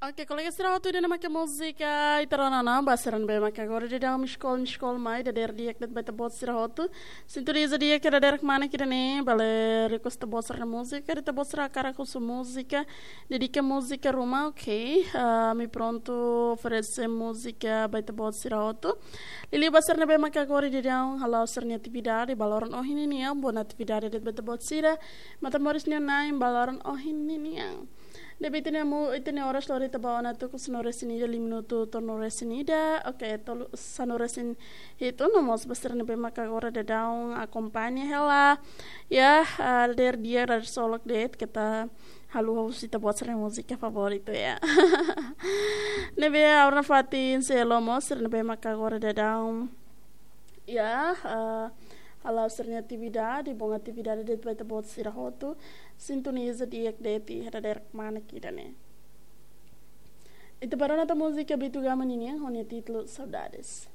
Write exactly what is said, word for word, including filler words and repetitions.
Oke, kolega sira hotu, ida-ne'e mak múzika ita rona ona, ba sira ne'ebé mak agora daudaun miss call, miss call mai, dadeer di'ak de'it ba ita-boot sira hotu. Sintoniza di'ak iha dadeer-kmanek ida-ne'e, bele request ita-boot sira-nia múzika, ita-boot sira hakarak husu múzika, dedika múzika ruma, oke. Ah, ami prontu oferese múzika ba ita-boot sira hotu. Liuliu ba sira ne'ebé mak agora daudaun hala'o sira-nia atividade, bá loron ohin ninian, boa atividade de'it ba ita-boot sira, matan moris nia na'in, bá loron ohin ninian. Ne'ebé ita-nia mu-, ita-nia oras lori ita bá ona tuku sanulu-resin-ida, lima minutu tolu-nulu-resin-ida. Oke, tolu, sanulu-resin-hitu, no mós ba sira ne'ebé mak agora daudaun akompaña hela. Ya, ah, dadeer di'ak, dadeer solok de'it, keta haluha husu ita-boot sira-nia múzika favoritu ya. Ne'ebé ha'u-nia fatin seluk mós, sira ne'ebé mak agora daudaun ya, ah, hala'o sira-nia atividade, boa atividade de'it ba ita-boot sira hotu, sintoniza di'ak de'it iha dadeer-kmanek ida-ne'e. Ita bá rona tan múzika Bitu Gama ninian, ho nia títulu Saudades.